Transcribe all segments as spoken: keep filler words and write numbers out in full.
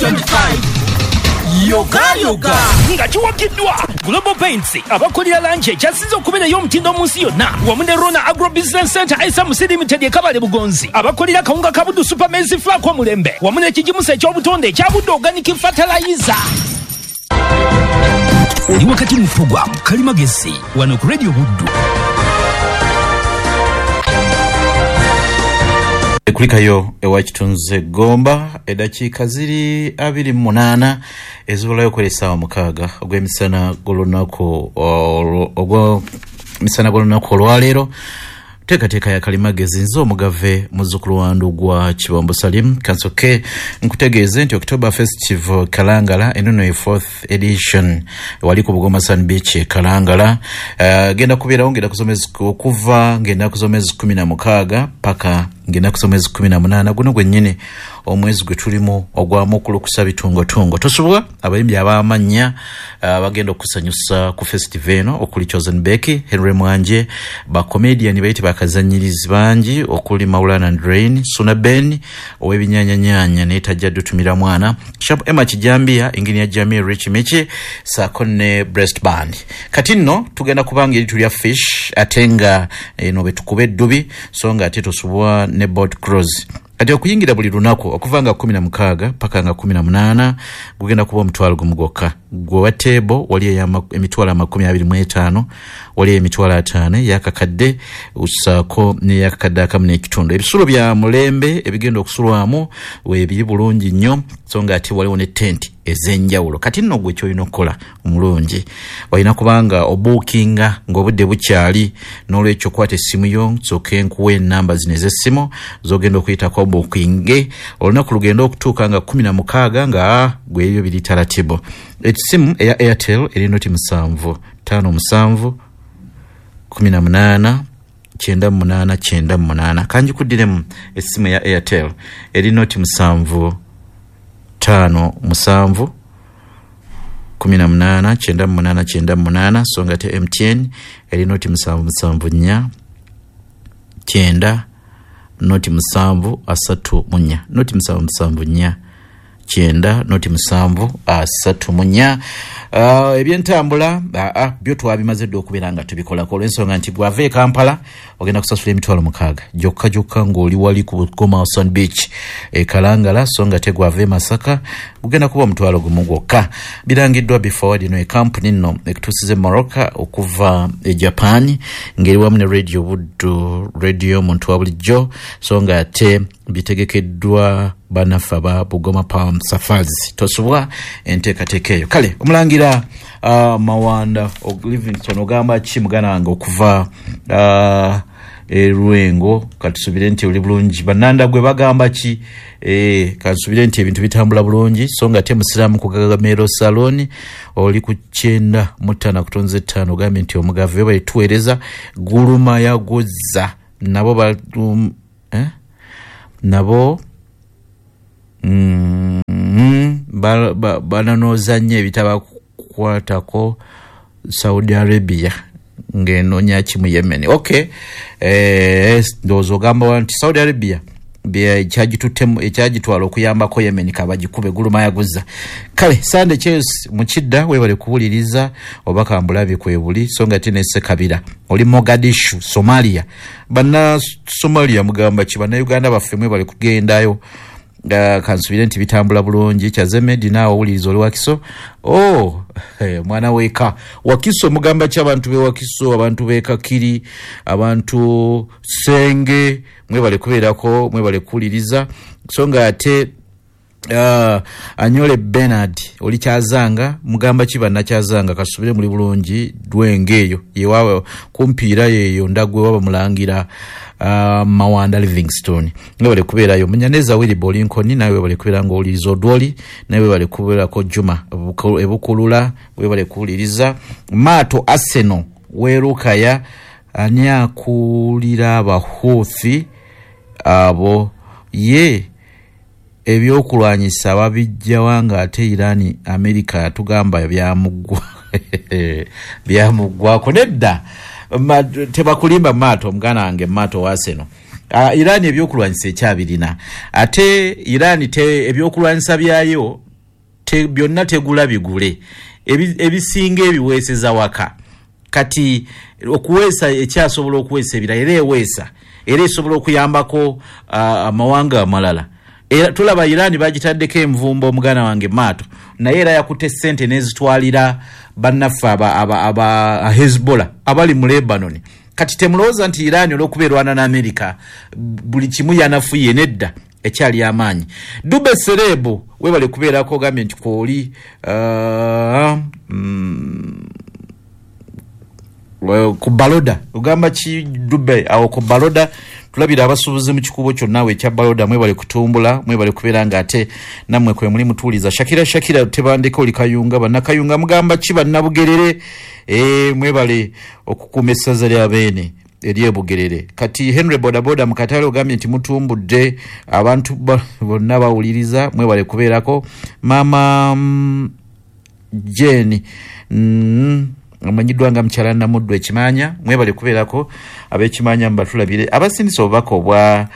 twenty-five. Yoga yoga nga kiwagiddwa Global Paints, abakolera langi ekyasinze okubeera ey'omutindo mu nsi yonna, wamu ne Rona Agro Business Center S M C Limited e Kabale Bugonzi, abakolera kawunga ka Buddu Super Maize Flour omulembe, wamu n'ekigimusa eky'obutonde ekya Buddu Organic Fertilizer. Oli wakati mu program Kalimagezi wano ku Radio Buddu. Kulikayo ewa Kitunze Gomba, eddakiika ziri abiri mu munaana ezibulayo kwera essaawa mukaaga ogw'emisana gw'olunaku ogw'emisana gw'olunaku olwaleero. Teekateeka ya Kalimagezi, nze omugave muzzukulu wa Ndugwa Kibombo Salim. Kansoke nkutegeeze nti October Festival Kalangala enono ye fourth edition wali ku Bugoma Sun Beach e Kalangala. uh, genda kubeerawo ngenda kusoma okuva ngenda kusoma kumi na mukaaga paka ngenda kusoma kumi na munaana guno gwennyini omwezi gwe tulimu ogwa Mukulukusa bitungotungo. Tosubwa abayimbi ab'amannya bagenda okusanyusa ku festival eno okuli Chosen Becky, Henry Mwanje, ba comedian bayite bakazanyirizi bangi okuli Maulana and Rain, Suna Ben ow'ebinyanyanyanya naye tajja dutumira mwana, Sharp Emma Kijambia, Engineer Jamie Rich Michi, saako ne Breast Band. Kati nno tugenda kubanga eri tulya fish ate nga eno betukuba eddubi, so nga ate tosubwa ne boat cruise. Kati okuyingira buli lunaku okuva nga kumi na mukaaga paka nga kumi na munaana gugenda kuba omutwalo gumu gwokka. Gwe wa table wali emitwalo amakumi abiri mu etaano, wali emitwalo ataano eyakakadde osaako n'eyakakadde akamu n'ekitundu. Ebisulo bya mulembe ebigenda okusulwamu weebiri bulungi nnyo, so nga ate waliwo ne tenti ez'enjawulo. Kati nno gwe ky'olina okukola omulungi, olina kubanga obuukinga ng'obudde bukyali. N'olwekyo kwata essimu yo, nsooke nkuwe ennamba zino ez'essimu z'ogenda okuyitako obuukinge olunaku lugenda okutuuka nga kumi na mukaaga nga gwe ebyo biri taratibu. Essimu eya Airtel eri noti musanvu ttaano musanvu kumi na munaana kyenda munaana kyenda munaana. Kanjikuddiremu, essimu eya Airtel eri noti musanvu ttaano musanvu kumi na munaana kyenda munaana kyenda munaana. So nga te M T N eri noti musanvu musanvu nnya kyenda noti musanvu asatu mu nnya, noti musanvu musanvu nnya kyenda noti musanvu asatu mu nnya. uh, ebyentambula uh, byo twabimaze dda okubeera nga tubikolako, olw'ensonga nti bw'ava e Kampala ogenda kusasula emitwalo mukaaga gyokka gyokka ng'oli wali ku Bugoma Sun Beach e Kalangala, so nga te gwava e Masaka gugenda kuba omutwalo gumu gwokka. Birangiddwa Beforward, eno ekampuni nno ekutuusiza Morocco okuva e Japan, ng'eri wamu ne Radio Buddu, radio omuntu wa bulijjo, so nga ate bitegekeddwa bannaffe aba Bugoma Palm Safaris. Tosubwa enteekateeka eyo. Kale omulangira uh, Mawanda Livingston, ogamba ki muganda wange okuva uh, erwengo? Katusubire nti oli bulungi. Bannanda gwe bagamba ki? e, katusubire nti ebintu bitambula bulungi. So nga te musiraamu ku Gagamero Salon oli ku kyenda mu ttaano kutonze ttaano, ogambye nti omugave balituweereza guluma yaguzza nabo ba, um, eh? Nabo mm, bananooza nnyo ebitabakwatako Saudi Arabia ng'enoonya ki mu Yemen. Okay, eh, ndowooza ogamba nti Saudi Arabia ekyagitwala okuyambako Yemen kabagikube guluma yaguza. Kale Sande Chels mukidda, webale kuwuliriza oba kambulabi kwebuli. So nga te nesekabira oli Mogadishu, Somalia. Banna Somalia mugamba ki? Bannayuganda baffe mwebale kugendayo, uh, kansubire nti bitambula bulungi. Kyazemedi naawe owuliriza oli Wakiso. Oh, hey, mwana weka Wakiso, mugamba ki abantu be Wakiso, abantu be Kakiri, abantu Senge? Mwebale kubeerako, mwebale kuwuliriza. So nga ate uh, Anyole Bernard oli Kyazanga, mugamba ki bannakyazanga? Kasubire muli bulungi. Dwenge eyo yewawe kumpiira yeyo ndagwe waba mulangira uh, Mawanda Livingstone, webale kubeerayo. Munyaneza Willibo Lincoln, nawe webale kubeera ng'owuliriza. Odwoli nawe webale kubeerako. Juma Ebukulula, webale kuwuliriza. Maato Arsenal Werukaya, ani akulira Abahuthi abo? Ye ebyokulwanyisa babijjawa nga ate Irani, Amerika yatugamba byamuggwa byamuggwako Nedda, tebakulimba maato, muganda wange maato waseno. Uh, Irani ebyokulwanyisa ekyabirina, ate Irani te ebyokulwanyisa byayo. te, byonna tegula bigule, ebisinga ebiweeseza waka. Kati okuweesa ekyasobola okuweesa ebirala, era eweesa era esobola okuyambako amawanga amalala. Era tulaba Iran bagitaddeko envumbo omuganda wange maato, naye era yakutte ssente n'ezitwalira bannaffe aba, aba, aba Hezbollah abali mu Lebanon. Kati temulowooza nti Iran olw'okuba erwana n'Amerika buli kimu yanafuye, nedda, ekyali amaanyi. Dube Serebu webale kubeerako, ogambye nti kwoli uh, mm, ku Baloda. Ogamba ki Dube awo ku Baloda? Tulabira abasuubuzi mu kikubo kyonna we ekya Baloda, mwebale kutumbula, mwebale kubeera nga ate nammwe kwe muli mutuuliza. Shakira Shakira tebandeka oli Kayunga, bannakayunga mugamba ki bannabugerere? E, mwebale okukuuma essaza lya Beene eryebugerere. Kati Henry Bodaboda mu katale ogambye nti mutumbudde abantu bonna bawuliriza, mwebale kubeerako. Mama mm, Jane mm, amanyiddwa nga mukyala Namuddu Ekimanya, mwebale kubeerako ab'Ekimanya mubatulabire. Abasindisa obubaka obwa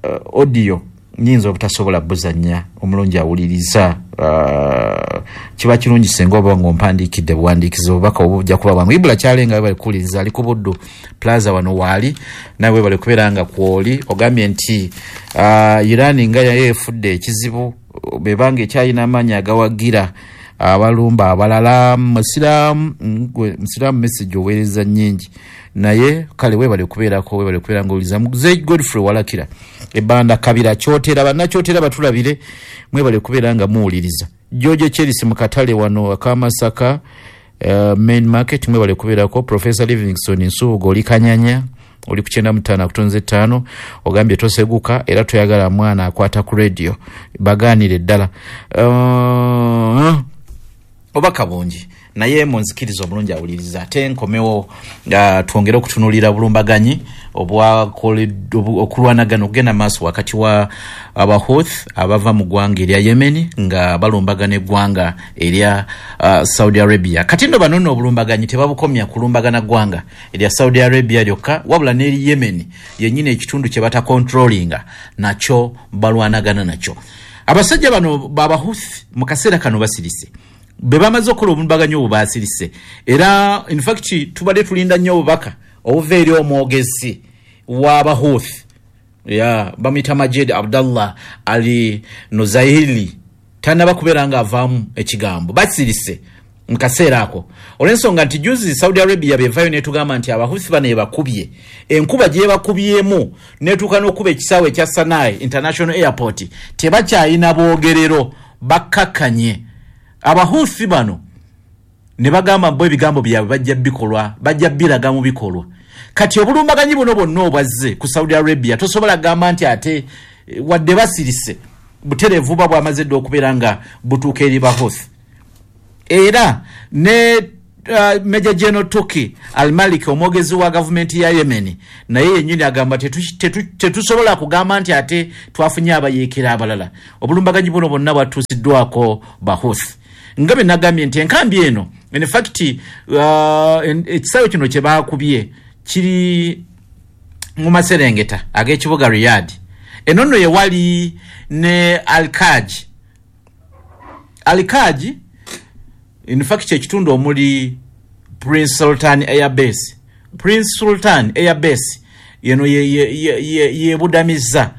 uh, audio nyinza obutasobola buzannya, omulungi awuliriza uh, kiba kirungi singa oba ng'ompandiikidde buwandiikizi obubaka obwo bujja kuba bwangu. Ibula Kyalenga webale kuwuliriza, ali ku Buddu Plaza wano waali, nawe webale kubeera nga kwoli. Ogambye nti uh, Iran nga yayo efudde ekizibu, bebanga ekyalina amaanyi agawagira abalumba abalala. Musiraamu musiraamu message oweereza nnyingi, naye kale webale kubeerako, webale kubeera ng'owuliriza. Mzee Godfrey Walakira ebanda Kabira Kyotera, bannakyotera batulabire, mwebale kubeera nga muwuliriza. George Cherisi mu katale wano akamasaka uh, main market, mwebale kubeerako. Professor Livingstone Nsubuga oli Kanyanya, oli ku kyenda mu ttaano akutonze ttaano, ogambye toseguka era toyagala mwana akwata ku radio, bagaanire ddala. uh, obaka bungi, naye munzikiriza omulungi awuliriza. Ate nkomewo uh, twongere okutunuulira bulumbaganyi okulwanagana okugenda maaso wakati wa Abahouth abava mu ggwanga erya Yemen nga balumbagana eggwanga erya uh, Saudi Arabia. Kati nno bano nno obulumbaganyi tebabukomya kulumbagana ggwanga erya Saudi Arabia lyokka, wabula n'eri Yemen yennyini ekitundu kye batakontrolinga nakyo balwanagana nakyo. Abasajja bano Abahouth mu kaseera kano basirise, be bamaze okukola obulumbaganyi obwo basirise. Era in fact tubadde tulinda nnyo obubaka obuva eri omwogezi w'Abahouth, ya bamuyita Majid Abdallah Ali Nuzaili, tannaba kubeera nga avaamu ekigambo. Basirise mu kaseera ako olw'ensonga nti juzi Saudi Arabia bevayo netugamba nti Abahouthi bano ebakubye enkuba gyebakubyemu netuuka n'okuba ekisaawe ekya Sanai International Airport, tebakyayina boogerero, bakkakkanye. Abahouthi bano ne bagamba bo ebigambo byabwe bajja bikolwa, bajja biraga mu bikolwa. Kati obulumbaganyi buno bwonna obwazze ku Saudi Arabia tosobola kugamba nti ate wadde basirise, butereevu buba bwamaze dda okubeera nga butuuka eri Bahouthi. Era ne uh, Major General Turki Al-Malik omwogezi wa gavumenti ya Yemen naye yennyini agamba tetusobola kugamba nti ate twafunye abayeekera abalala. Obulumbaganyi buno bwonna bwatuusiddwako Bahouthi. Nga bwe nagambye nti enkambi eno in fact uh, ekisaawe kino kye baakubye kiri mu maserengeta ag'ekibuga Riyadh. Eno nno ye wali ne Al-Kaj. Al-Kaj in fact ekitundu omuli Prince Sultan Air Base. Prince Sultan Air Base yeno yebudamizza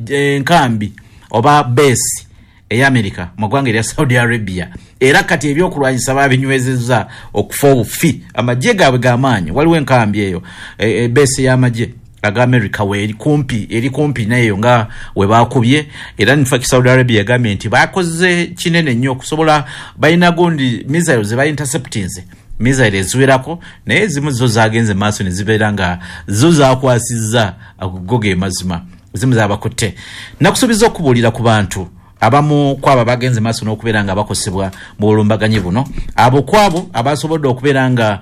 enkambi oba base eya America mu ggwanga erya Saudi Arabia. Era kati ebyokulwanyisa babinywezezza okufa obufi, amagye gaabwe g'amaanyi. Waliwo enkambi eyo e, e, base y'amagye aga America weeri kumpi, eri kumpi nayo nga we bakubye. Era in fact Saudi Arabia yagambye nti bakoze kinene nnyo okusobola, balina gundi missiles ze ba interceptinze, missile eziwerako, naye ezimu zo zagenze maaso ne zibeera nga zo zakwasizza ago ge mazima, ezimu zabakutte. Nakusuubiza okubuulira ku bantu abamu kwabo bagenze maaso n'okubeera nga bakosebwa mu bulumbaganyi buno. Abo kwabo abasobodde okubeera nga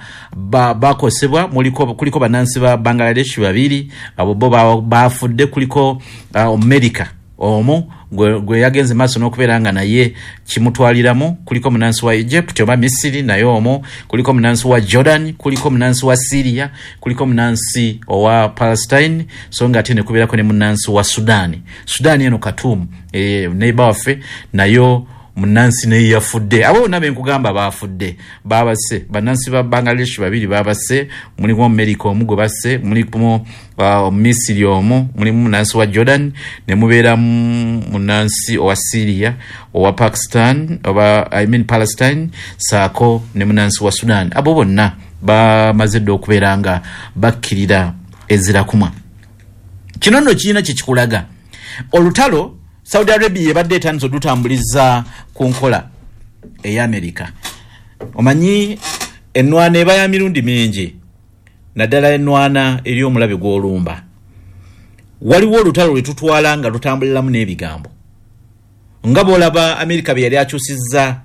bakosebwa muliko kuliko bannansi ba Bangladesh babiri, abo bo bafudde, kuliko uh, America Omu gwe yagenze maaso n'okubeera nga naye kimutwaliramu, kuliko munansi wa Egypt oba Misiri naye omu, kuliko munansi wa Jordan, kuliko munansi wa Syria, kuliko munansi owa Palestine, so nga ate ne kubeerako ne munansi wa Sudan. Sudan eno Khartoum, e, neighbor waffe, nayo munansi naye yafudde. Abo bonna be nkugamba baafudde, babase bannansi ba Bangladesh babiri babase, mulimu America omu gwe basse, mulimu uh, Misiri omu, mulimu munansi wa Jordan, ne mubeera munansi owa Syria, owa Pakistan oba I mean Palestine, saako ne munansi wa Sudan. Abo bonna bamaze dda okubeera nga bakkirira ezirakumwa. Kino nno kirina kye kikulaga. Olutalo Saudi Arabia ebadde etandise odutambuliza ku nkola eya Amerika. Omanyi ennwana eba ya mirundi mingi, naddala ennwana eri omulabe gw'olumba. Waliwo olutalo lwe tutwala nga lutambuliramu n'ebigambo, nga bw'olaba Amerika bye yali akyusizza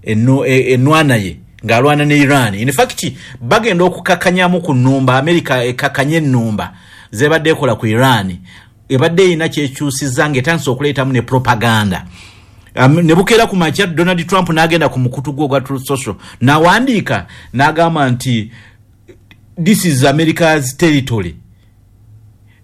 ennwana ye ng'alwana ne Iran. In fact bagenda okukakkanyamu ku nnumba, Amerika ekkakkanye ennumba zebadde ekola ku Iran, ebadde erina kyekyusizza ng'etandise okuleetamu ne propaganda. Um, ne bukeera ku makya Donald Trump n'agenda ku mukutu gwe ogwa Truth Social n'awandiika n'agamba nti this is America's territory,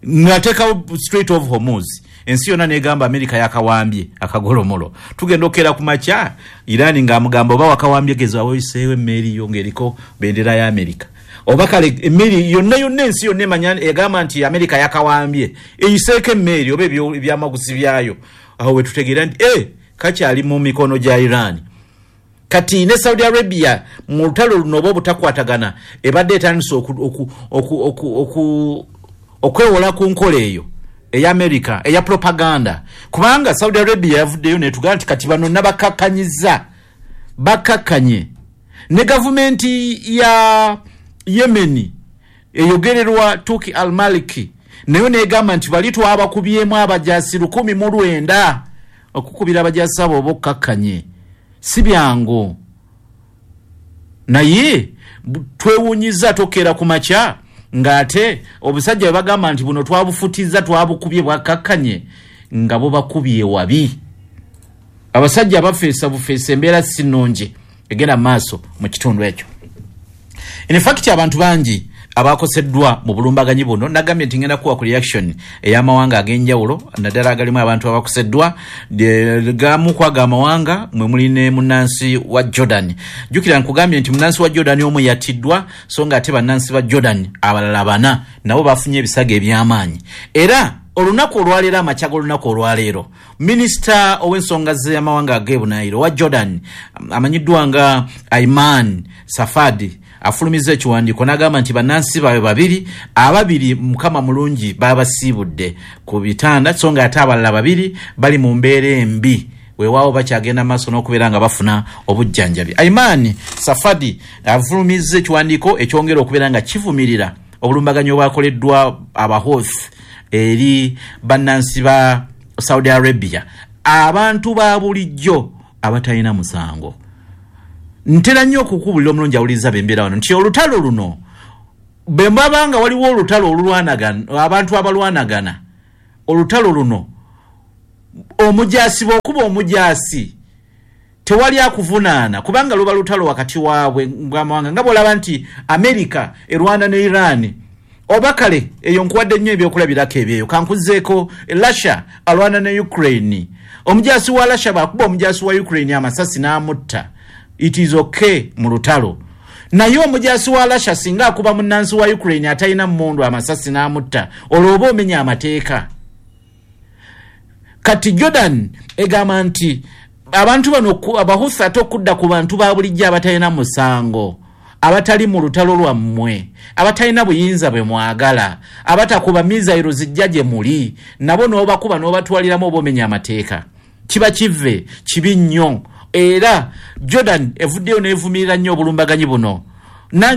ng'ateekawo Strait of Hormuz. Ensi yonna n'egamba Amerika yakawambye akagolomolo. Tugenda okukeera ku makya Iran ng'amugamba oba wakawambye geza woyiseewo emmeeri yo ng'eriko bendera ya Amerika, oba kale emmeri yonna yonna ensi yonna emanya egamba nti Amerika yakawambye, eyiseeko emmeri oba ebyamaguzi byayo. Awo we tutegeera nti eh, kakyali mu mikono gya Iran. Kati ne Saudi Arabia mu lutalo luno oba obutakwatagana ebadde etandise okwewola ku nkola eyo eya Amerika eya propaganda, kubanga Saudi Arabia yavuddeyo netugamba nti kati bano nabakakkanyiza bakkakkanye ne gavumenti ya Yemen eyogererwa Turki al-Maliki, nayo negamba nti bali twabakubyemu abajasi lukumi mu lwenda. Okukubira abajasi abo oba okkakkanye si byangu, naye twewuunyiza tokeera ku makya ng'ate obusajja bwe bagamba nti buno twabufutizza twabukubye bwakkakkanye, nga bubakubye wabi. Abasajja bafeesa bufeesa, embeera si nnungi egenda mu maaso mu kitundu ekyo. In fact abantu bangi abakoseddwa mu bulumbaganyi buno, nagambye nti ngenda kuwa ku reaction ey'amawanga ag'enjawulo, naddala agalimu abantu abakoseddwa. Gamu kwaga amawanga mwe muli ne munnansi wa Jordan. Jjukira nkugambye nti munnansi wa Jordan omu yattiddwa, so nga ate bannansi ba Jordan abalala bana nabo bafunye ebisago eby'amaanyi. Era olunaku olwaleero, amakya g'olunaku olwaleero, minisita ow'ensonga z'amawanga ag'ebunaayiro wa Jordan amanyiddwa nga Ayman Safadi afulumiza ekiwandiiko n'agamba nti bannansi baabwe babiri, ababiri Mukama mulungi babasiibudde ku bitanda, so nga ate abalala babiri bali mu mbeera embi, weewaawo bakyagenda maaso n'okubeera nga bafuna obujjanjabi. Ayman Safadi afulumiza ekiwandiiko ekyongera okubeera nga kivumirira obulumbaganyi obwakoleddwa Abahouthi eri bannansi ba Saudi Arabia, abantu ba bulijjo abatalina musango. Ntera nnyo okukubulira omulungi awuliriza bembeera wano nti olutalo luno bwe mbaba nga waliwo olutalo olulwanagana, abantu abalwanagana, olutalo luno omujaasi bw'okuba omujaasi tewali akuvunaana, kubanga luba lutalo wakati waabwe bw'amawanga, nga bw'olaba nti Amerika erwana ne Iran, oba kale eyo nkuwadde nnyo ebyokulabirako ebyeyo. Kankuzeeko Russia alwana ne Ukraine, omujaasi wa Russia bw'akuba omujaasi wa Ukraine amasasi n'amutta, it is okay mu lutalo. Naye omujaasi wa Russia singa akuba munnansi wa Ukraine atalina mmundu amasasi n'amutta, olwo oba omenya amateeka. Kati Jordan egamba nti abantu bano Abahuthi ate okudda ku bantu ba bulijjo abatalina musango, abatali mu lutalo lwammwe, abatalina buyinza bwe mwagala, abatakuba mizayiro zijja gye muli, nabo n'obakuba n'obatwaliramu oba omenya amateeka. Kiba kive kibi nnyo. Era Jordan evuddeyo n'evumirira nnyo obulumbaganyi buno,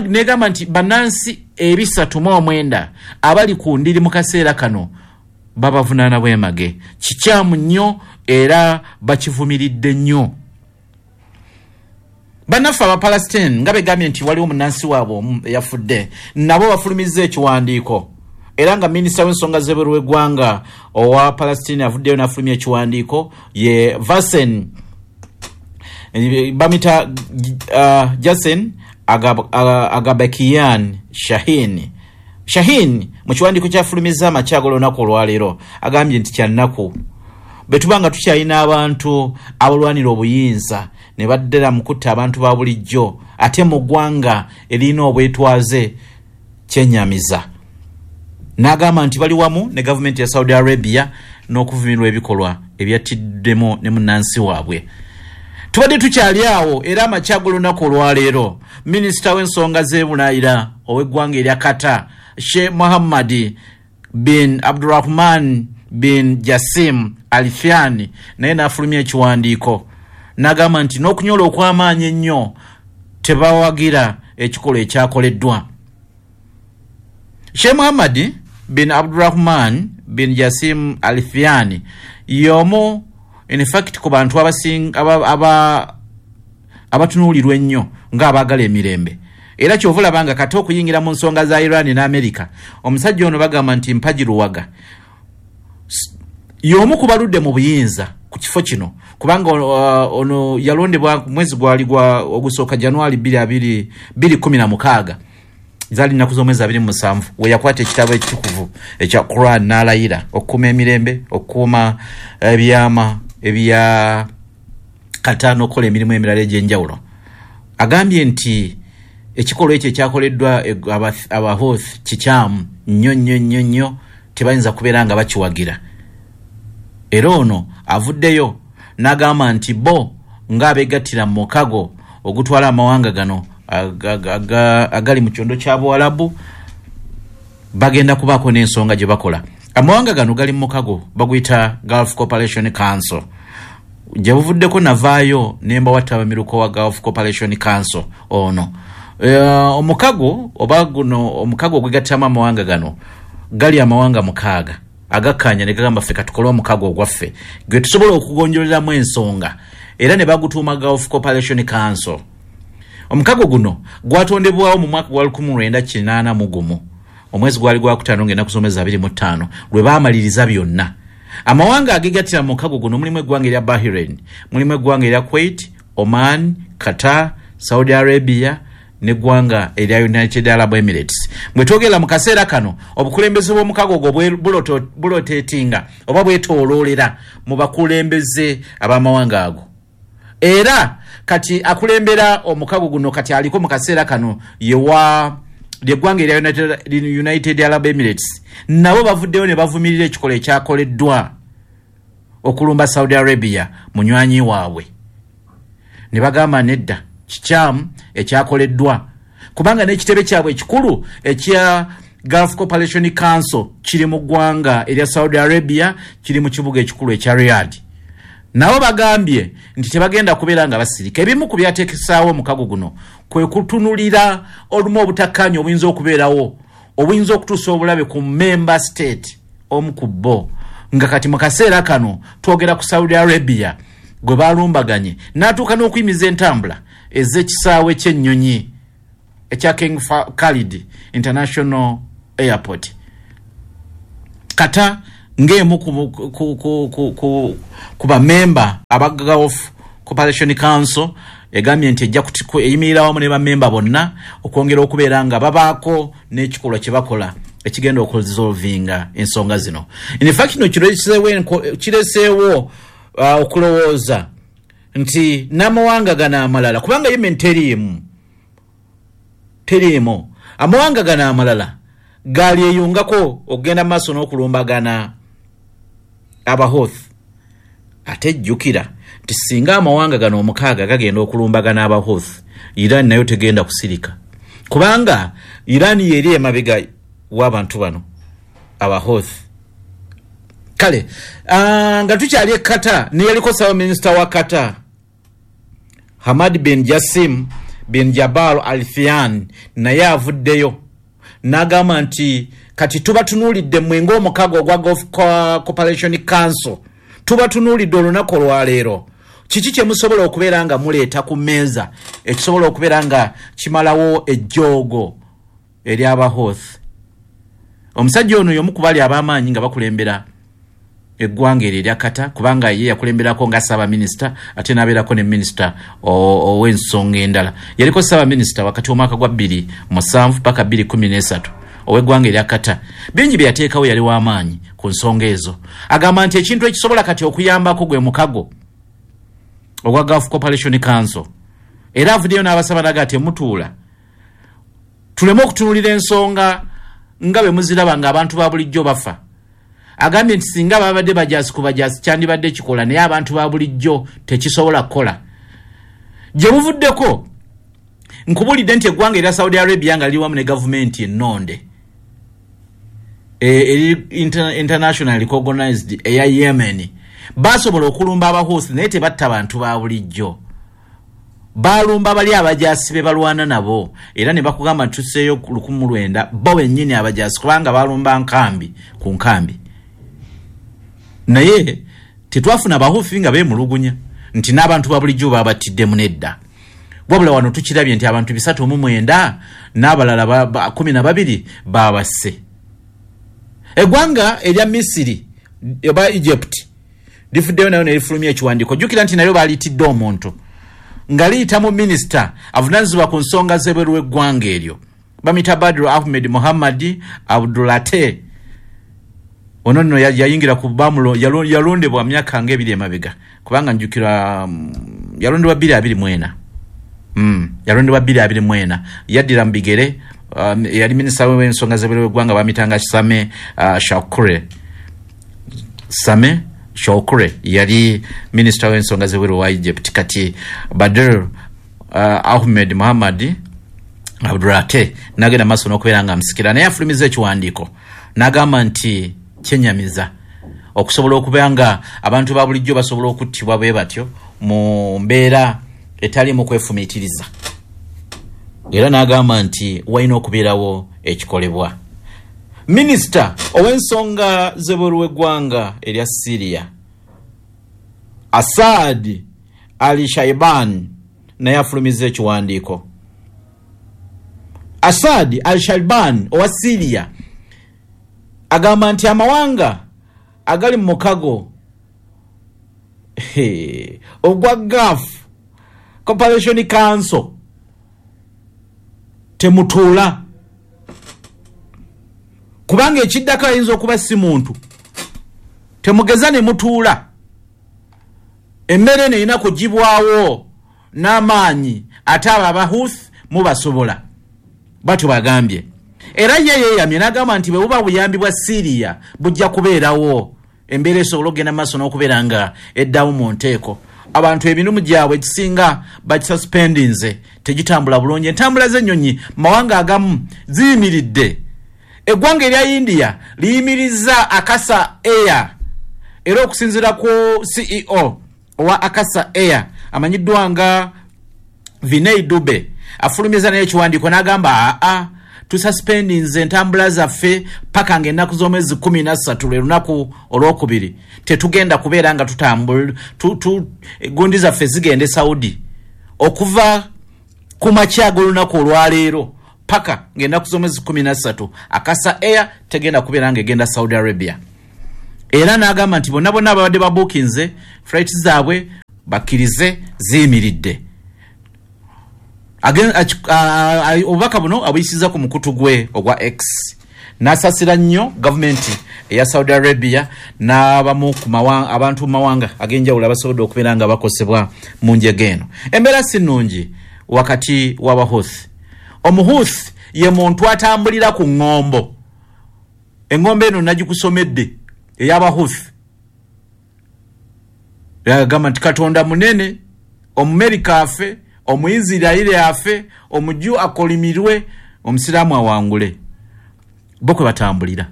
negamba nti bannansi ebisatu mu omwenda abali ku ndiri mu kaseera kano babavunaana bwemage. Kikyamu nnyo era bakivumiridde nnyo. Bannaffe Abapalestine nga begambye nti waliwo munnansi waabwe omu eyafudde, nabo bafulumizza ekiwandiiko Era nga minisita w'ensonga z'ebweru w'eggwanga owa Palestine avuddeyo n'afulumya ekiwandiiko, ye Vasen bamita uh, Jasen Agab, Agabakian Shahin. Shahin mu kiwandiiko kyafulumizza amakya g'olunaku olwaleero agambye nti kyannaku bwe tuba nga tukyalina abantu abalwanira obuyinza ne baddala mu kutta abantu ba bulijjo ate mu ggwanga erina obwetwaze, kyenyamiza. N'agamba nti bali wamu ne gavumenti ya Saudi Arabia n'okuvumirwa ebikolwa ebyattiddemu ne munnansi waabwe. Tubadde tukyali awo, era amakya g'olunaku olwaleero minisita w'ensonga z'ebunaayira ow'eggwanga erya Qatar, Sheikh Muhammad bin Abdurrahman bin Jassim Al Thani, naye n'afulumya ekiwandiiko n'agamba nti n'okunyola okw'amaanyi ennyo tebawagira ekikolwa ekyakoleddwa. Sheikh Muhammad bin Abdurrahman bin Jassim Al Thani y'omu in fact ku bantu abasinga aba abatunuulirwa ennyo ng'abaagala emirembe, era kyova olaba nga kati okuyingira mu nsonga za Iran ne America, omusajja ono bagamba nti mpagi luwaga, y'omu ku baludde mu buyinza ku kifo kino, kubanga uh, ono yalondebwa mwezi gwali gwa ogusooka January bbiri kumi na mukaaga, zaali nnaku z'omwezi abiri mu musanvu, we yakwata ekitabo ekitukuvu ekya Quran n'alayira okukuuma emirembe, okukuuma ebyama ebya Qatar n'okukola emirimu emirala egy'enjawulo. Agambye nti ekikolwa ekyo ekyakoleddwa Abahouthi kikyamu nnyo nnyo nnyo nnyo, tebayinza kubeera nga bakiwagira. Era ono avuddeyo n'agamba nti bo ng'abeegattira mu mukago ogutwala amawanga gano agali mu kyondo kya Buwalabu bagenda kubaako n'ensonga gye bakola. Amawanga gano gali mu mukago baguyita Gulf Cooperation Council. Gye buvuddeko navaayo ne mbawatta abamiruka wa Gulf Cooperation Council ono. E, omukago oba guno omukago ogwegattamu amawanga gano gali amawanga mukaaga agakkaanya ne gagamba ffe katukole omukago ogwaffe gwe tusobola okugonjoleramu ensonga, era ne bagutuuma Gulf Cooperation Council. Omukago guno gwatondebwawo mu mwaka gwa lukumi lwenda kinaana mu gumu, omwezi gwali gwakutaano ng'ennaku z'omwezi abiri mu ttaano lwe baamaliriza byonna. Amawanga agegattira mu mukago guno mulimu eggwanga erya Bahrain, mulimu eggwanga erya Kuwait, Oman, Qatar, Saudi Arabia n'eggwanga erya United Arab Emirates. Bwe twogera mu kaseera kano obukulembeze bw'omukago ogwo buloteetinga oba bwetooloolera mu bakulembeze ab'amawanga ago. Era kati akulembera omukago guno kati aliko mu kaseera kano yewa lyeggwanga erya United, United Arab Emirates, nabo bavuddeyo ne bavumirira ekikolwa ekyakoleddwa okulumba Saudi Arabia munywanyi waabwe, ne bagamba nedda kikyamu ekyakoleddwa, kubanga n'ekitebe kyabwe ekikulu ekya Gulf Cooperation Council kiri mu ggwanga erya Saudi Arabia, kiri mu kibuga ekikulu ekya Riyadh. Nabo bagambye nti tebagenda kubeera nga basirika. Ebimu ku byateekesaawo omukago guno kwe kutunulira olumu obutakkaanya obuyinza okubeerawo obuyinza okutuusa obulabe ku member state omu ku bo, nga kati mu kaseera kano twogera ku Saudi Arabia gwe balumbaganye n'atuuka n'okuyimiza entambula ez'ekisaawe ky'ennyonyi ekya King Khalid International Airport. Qatar ng'emu ku, ku, ku, ku, ku, ku bamemba aba Gulf Cooperation Council egambye nti ejja eyimirira wamu ne bamemba bonna okwongera okubeera nga babaako n'ekikolwa kye bakola ekigenda okuresolvinga ensonga zino. In fact kino kireseewo uh, okulowooza nti n'amawanga gano amalala, kubanga Yemen teriimu teriimu, amawanga gano amalala galyeyungako okugenda mu maaso n'okulumbagana Abahouthi. Ate jjukira nti singa amawanga gano omukaaga gagenda okulumbagana Abahouthi, Iran nayo tegenda kusirika, kubanga Iran yeri emabega w'abantu bano Abahouthi. Kale uh, nga tukyali e Qatar, neyaliko ssaabaminisita wa Qatar Hamad bin Jassim bin Jabal Al Thani naye avuddeyo n'agamba nti kati tubatunuulidde mmwe ng'omukago ogwa Gulf Cooperation Council, tubatunuulidde olunaku olwaleero, kiki kye musobola okubeera nga muleeta ku mmeeza ekisobola okubeera nga kimalawo ejjoogo ery'Abahouthi. Omusajja ono y'omu ku bali ab'amaanyi nga bakulembera eggwanga eryo erya Qatar, kubanga ye yakulemberako nga ssaabaminisita ate n'abeerako ne minisita ow'ensonga endala. Yaliko ssaabaminisita wakati w'omwaka gwa bbiri musanvu paka bbiri kumi n'esatu ow'eggwanga erya Qatar. Bingi bye yateekawo, yali w'amaanyi ku nsonga ezo. Agamba nti ekintu ekisobola kati okuyambako gwe mukago ogwa Gulf Cooperation Council. Era avuddeyo n'abasaba naga temutuula, tuleme okutunuulira ensonga nga bwe muziraba ng'abantu ba bulijjo bafa. Agambye nti singa babadde bajaasi ku bajaasi kyandibadde kikola, naye abantu ba bulijjo tekisobola kukola. Gye buvuddeko nkubulidde nti eggwanga erya Saudi Arabia nga liri wamu ne gavumenti ennonde eri international recognized eya Yemen basobola okulumba Abahusi, naye tebatta bantu ba bulijjo, balumba bali abajaasi be balwana nabo. Era ne bakugamba nti tuseeyo lukumu lwenda bo bennyini abajaasi, kubanga balumba nkambi ku nkambi, naye tetwafuna Abahusi nga beemulugunya nti n'abantu ba bulijjo babattiddemu nedda. Wabula wano tukirabye nti abantu bisatu mu mwenda n'abalala kumi na babiri babasse. Eggwanga erya Misiri oba Egypt lifuddeyo nayo ne lifulumya ekiwandiiko. Jjukira nti nalyo baalitidde omuntu nga liyita mu minisita avunaanyizibwa ku nsonga z'ebweru w'eggwanga eryo, bamuyita Badru Ahmed Muhammad Abdulate. Ono nno yayingira ku bamulo, yalondebwa myaka ng'ebiri emabega, kubanga njjukira yalondebwa bbiri abiri mu ena. Mm, yalondebwa bbiri abiri mu ena, yaddira mu bigere um, yali minisita w'ensonga z'ebweru w'eggwanga bamuyitanga Same uh, Shakure. Same Shokure yali minisita w'ensonga z'ebweru wa Egypt. Kati Badr uh, Ahmed Muhammad Abdulate nagenda maaso n'okubeera nga amusikira, naye afulumiza ekiwandiiko n'agamba nti kyenyamiza okusobola okubeera nga abantu ba bulijjo basobola okuttibwa bwe batyo mu mbeera etaliimu kwefumiitiriza. Era n'agamba nti walina okubeerawo ekikolebwa. Minisita ow'ensonga z'ebweru w'eggwanga erya Syria Assad Ali Shaiban naye afulumiza ekiwandiiko. Assad Al Shaiban owa Syria agamba nti amawanga agali mu mukago ogwa Gulf Cooperation Council temutuula, kubanga ekiddako ayinza okuba si muntu. Temugeza ne mutuula, emmere eno erina kugibwawo n'amaanyi, ate abo Abahuthi mubasobola, batyo bagambye. Era ye yeeyamye n'agamba nti bwe buba buyambi bwa Syria bujja kubeerawo, embeera esobola okugenda mu maaso n'okubeera nga eddawo mu nteeko. Abantu emirimu gyabwe ekisinga bakisuspendinze, tegitambula bulungi. Entambula z'ennyonyi mawanga agamu ziyimiridde. Eggwanga erya India liyimiriza Akasa Air, era okusinziira ku C E O owa Akasa Air amanyiddwa nga Vinay Dube afulumiza naye ekiwandiiko n'agamba aa tususpendinze entambula zaffe paka ng'ennaku z'omwezi kumi na ssatu lwe lunaku olwokubiri, tetugenda kubeera nga tutambula tu, tu, gundi zaffe zigenda e Saudi okuva ku makya ag'olunaku olwaleero paka ng'ennaku z'omwezi kumi na ssatu Akasa Air tegenda kubeera ng'egenda Saudi Arabia. Era n'agamba nti bonna bonna ababadde babuukinze flight zaabwe bakkirize ziyimiridde. Obubaka buno abuyisiza ku mukutu gwe ogwa X. N'asasira nnyo gavumenti eya Saudi Arabia n'abamu ku abantu mu mawanga ag'enjawulo abasobodde okubeera nga bakosebwa mu njega eno. Embeera si nnungi wakati w'Abahuthi. Omuhuthi ye muntu atambulira ku ŋŋombo. Eŋŋombo eno nagikusomedde ey'Abahuthi. Yagamba nti Katonda munene, Omumerika afe, Omuisirairi afe, Omuju akolimirwe, Omusiraamu awangule. Bo kwe batambulira.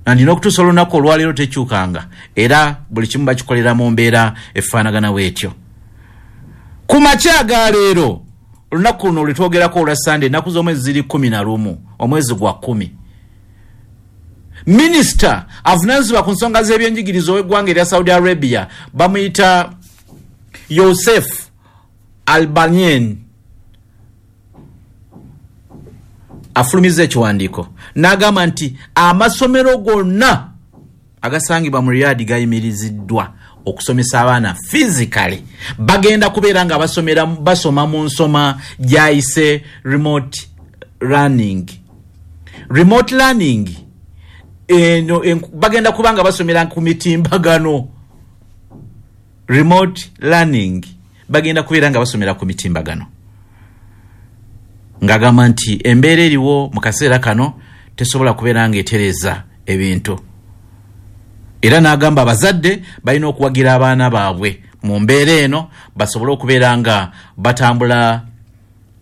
Nandi n'okutuusa olunaku olwaleero tekyukanga, era buli kimu bakikolera mu mbeera efaanagana bw'etyo. Ku makya ga leero, olunaku luno lwe twogerako olwa Sande, ennaku z'omwezi ziri kumi na lumu, omwezi gwa kkumi. Minisita avunaanyizibwa ku nsonga z'ebyenjigiriza ow'eggwanga erya Saudi Arabia bamuyita Yosef Albanien Afulumiza ekiwandiiko n'agamba nti amasomero gonna agasangibwa mu Riyadh gayimiriziddwa okusomesa abaana physically, bagenda kubeera nga basomera basoma mu nsoma gyayise remote learning. Remote learning eno bagenda kuba nga basomera ku mitimbagano. Remote learning bagenda kubeera nga basomera ku mitimbagano, ng'agamba nti embeera eriwo mu kaseera kano tesobola kubeera nga etereza ebintu. Era n'agamba abazadde balina okuwagira abaana baabwe mu mbeera eno basobole okubeera nga batambula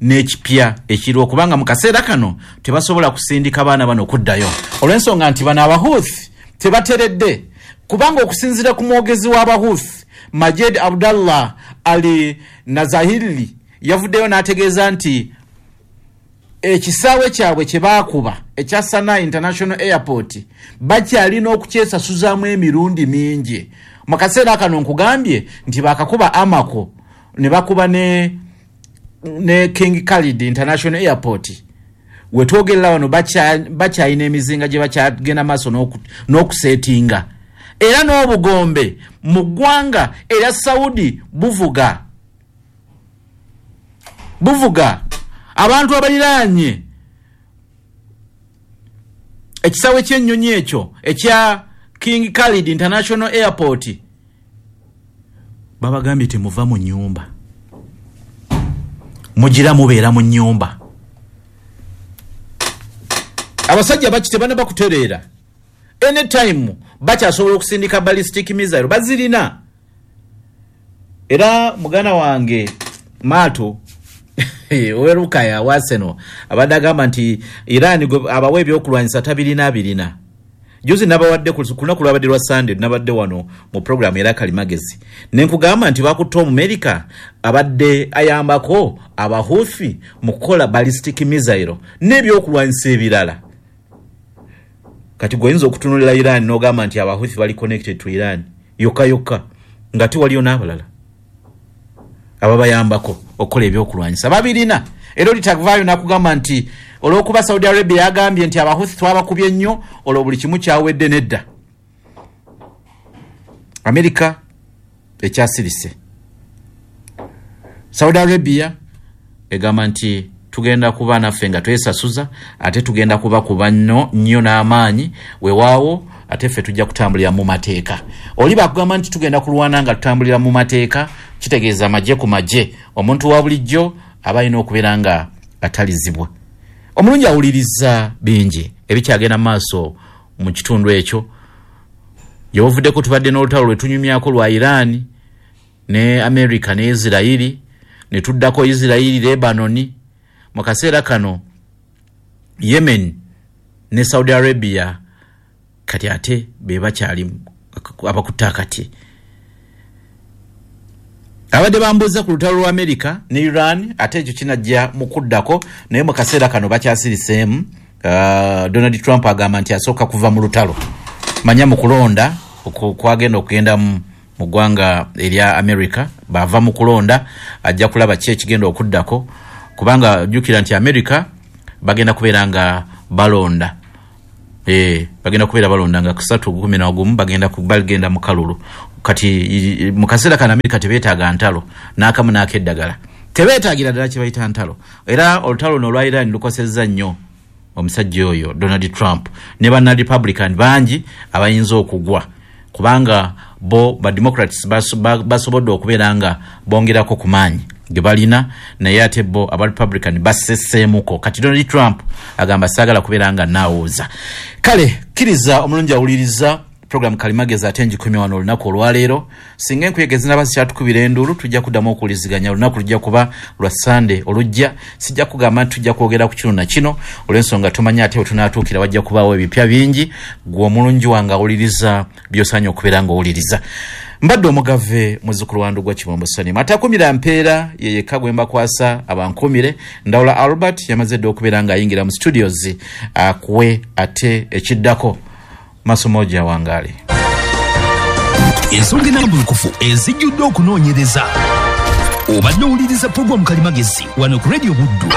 n'ekipya ekiriwo, kubanga mu kaseera kano tebasobola kusindika baana bano okuddayo olw'ensonga nti bano Abahuthi tebateredde, kubanga okusinziira ku mwogezi w'Abahuthi Majed Abdallah Ali Nazahili yavuddeyo n'ategeeza nti ekisaawe kyabwe kye baakuba ekya Sanaa International Airport bakyalina okukyesasuzaamu emirundi mingi. Mu kaseera kano nkugambye nti baakakuba Amako ne bakuba ne ne King Khalid International Airport. Wetwogerera wano bakyalina emizinga gye bakyagenda maaso n'okuseetinga, era n'obugombe mu ggwanga erya Saudi buvuga buvuga abantu abaliraanye ekisaawe ky'ennyonyi ekyo ekya King Khalid International Airport babagambye temuva mu nnyumba, mugira mubeera mu nnyumba. Abasajja baki tebanaba kutereera, anytime bakyasobola okusindika ballistic missile bazirina. Era muganda wange Mato owerukaya waseno abadde agamba nti Iran abawa ebyokulwanyisa tabirina birina. Juzi nabawadde ku lunaku lwabadde lwa Sunday, nabadde wano mu program era Kalimagezi ne nkugamba nti bakutte Omumerika abadde ayambako Abahuthi mu kukola ballistic missile n'ebyokulwanyisa ebirala. Kati gwe oyinza okutunulira Iran n'ogamba nti Abahuthi bali connected to Iran yokka yokka, nga tewaliyo n'abalala ababayambako okukola ebyokulwanyisa babirina. Era olitavaayo n'akugamba nti olw'okuba Saudi Arabia yagambye nti Abahuthi twabakubye nnyo, olwo buli kimu kyawedde nedda. Amerika ekyasirise, Saudi Arabia egamba nti tugenda kuba naffe nga twesasuza, ate tugenda kubakuba nnyo nnyo n'amaanyi, weewaawo ate ffe tujja kutambulira mu mateeka. Oli bakugamba nti tugenda kulwana nga tutambulira mu mateeka, kitegeeza magye ku magye. Omuntu wa bulijjo aba alina okubeera nga atalizibwa. Omulungi awuliriza bingi ebikyagenda maaso mu kitundu ekyo. Gyebuvuddeko tubadde n'olutalo lwe tunyumyako lwa Iran ne America ne Israeli, ne tuddako Israeli Lebanon. Mu kaseera kano Yemen ne Saudi Arabia kati ate be bakyali abakutte akati. Abadde bambuuza ku lutalo lwa America ne Iran, ate ekyo kinajja mu kuddako, naye mu kaseera kano bakyasiriseemu. Uh, Donald Trump agamba nti asooka kuva mu lutalo, manya mu kulonda kwagenda okugenda mu ggwanga erya America, bava mu kulonda ajja kulaba ki ekigenda okuddako, kubanga jjukira nti America bagenda kubeera nga balonda eh bagenda kubeera balonda nga kusatu kumi na gumu bagenda bagenda mu kalulu. Kati mu kaseera kano America tebeetaaga ntalo n'akamu n'akeddagala, tebeetaagira ddala kye bayita ntalo. Era olutalo luno olwa Iran lukosezza nnyo omusajja oyo Donald Trump ne banna Republican bangi abayinza okugwa, kubanga bo ba Democrats basobodde okubeera nga bongerako ku maanyi ge balina, naye ate bo aba Republican basseseemuko. Kati Donald Trump agamba saagala kubeera nga naawuuza. Kale kkiriza omulungi awuliriza program Kalimagezi ate ngikomye wano olunaku olwaleero. Singa enkuyege zinaba zikyatukubira enduulu, tujja kuddamu okuwuliziganya. Olunaku lujja kuba lwa Sande olujja. Sijja kugamba nti tujja kwogera ku kino na kino olw'ensonga tumanyi ate we tunaatuukira wajja kubaawo ebipya bingi. Gwe omulungi wange awuliriza by'osaanye okubeera ng'owuliriza. Mbadde omugave muzzukulu wa Ndugwa Kibombo Salim, atakumira mpeera ye yekka gwe mbakwasa abankumire. Ndawula Albert yamaze dda okubeera ng'ayingira mu studios akuwe ate ekiddako. Masomo wangaali. Ensonga ennambulukufu ezijjudde okunoonyereza. Obadde owuliriza pulogulaamu Kalimagezi wano ku Radio Buddu.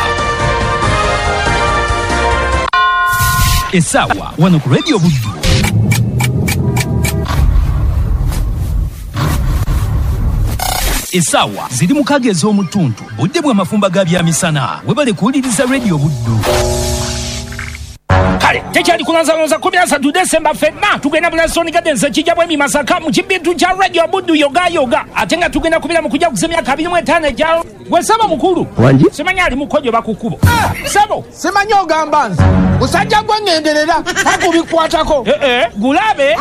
Essaawa wano ku Radio Buddu. Essaawa ziri mukaaga ez'omutuntu, budde bw'amafumba ga byamisana. Webale kuwuliriza Radio Buddu. Kale tekyali kulanzalonza kumi na ssatu Desemba ffenna tugenda Bulasoni Gardens ekijja bwemi Masaka mu kibintu kya Radio Buddu yoga yoga, ate nga tugenda kubeera mu kujaguza emyaka abiri mu etaano egya gwe ssebo mukulu. Wangi? Simanyi ali mukojo bakukubo. Ssebo. Simanyi ogamba nze. Musajja gwe ŋŋenderera takubikwatako. Eh eh, gulabe.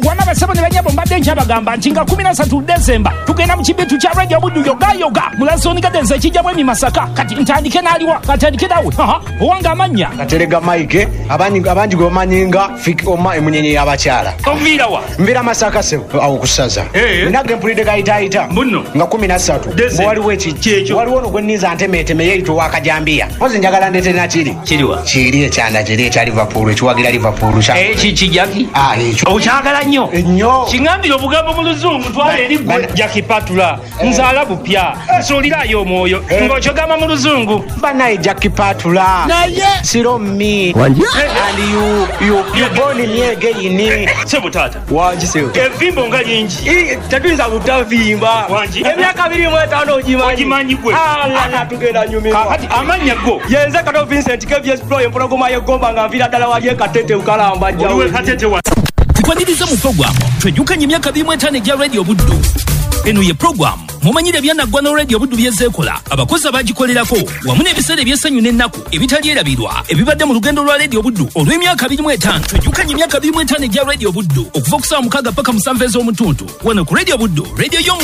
Wama basebo ne banyabo mbadde nkyabagamba nti nga kumi na ssatu Desemba tugenda mu kibintu kya Radio Buddu yoga yoga Bulasoni Gardens ekijja bwemi Masaka. Kati ntandike n'aliwa, katandike nawe. Aha, owange amannya. Katerega Mike, abangi abangi gwe bamanyi nga Fik Oma emunyenye y'abakyala. Oviira wa? Nviira Masaka ssebo, awo ku ssaza. Eh. Nina ge mpulidde gayitaayita. Mbuno. Nga kumi na ssatu. Desemba. Waliwo eki- Kyekyo. Waliwo ono gwe nninza ntemeeteme yeeyita ow'akajambiya. Mpozi njagala ndeete nakiri. Kiriwa? Kiri ekyanda kiri ekya Liverpool, ekiwagira Liverpool kya- Eki kijaki? Ah, ekyo. Okyagala nnyo? Ennyo. Kiŋŋambire obugambo mu Luzungu twala eri ggwe. Bana- Jackie Patula, nzaala bupya, nsuulirayo omwoyo, ng'okyogamba mu Luzungu. Banaye Jackie Patula. Naye. Siro me. Wangi? And you, you, you born me again. Ssebo taata. Wangi ssebo. Evimbo nga lingi. Ii, tetuyinza butavimba. Wangi. Emyaka abiri mu etaano ogimanyi. Ogimanyi gwe. Alala tugenda nyumirwa. Kaakati amannya go. Yenze Kato Vincent K V S Pro empologoma y'eggomba nga nviira ddala wali e Katete Bukalamba jjawo. Oliwe Katete wa. Tukwaniriza mu puroguramu twejjukanye emyaka abiri mu etaano egya Radio Buddu. Eno ye puroguramu mumanyire ebyanaggwa ne Radio Buddu byezeekola, abakozi abagikolerako wamu n'ebiseera eby'essanyu n'ennaku ebitalyerabirwa ebibadde mu lugendo lwa Radio Buddu olw'emyaka abiri mu etaano. Twejjukanye emyaka abiri mu etaano egya Radio Buddu okuva ku ssaawa mukaaga paka musanvu ez'omutuntu wano ku Radio Buddu, radio y'omu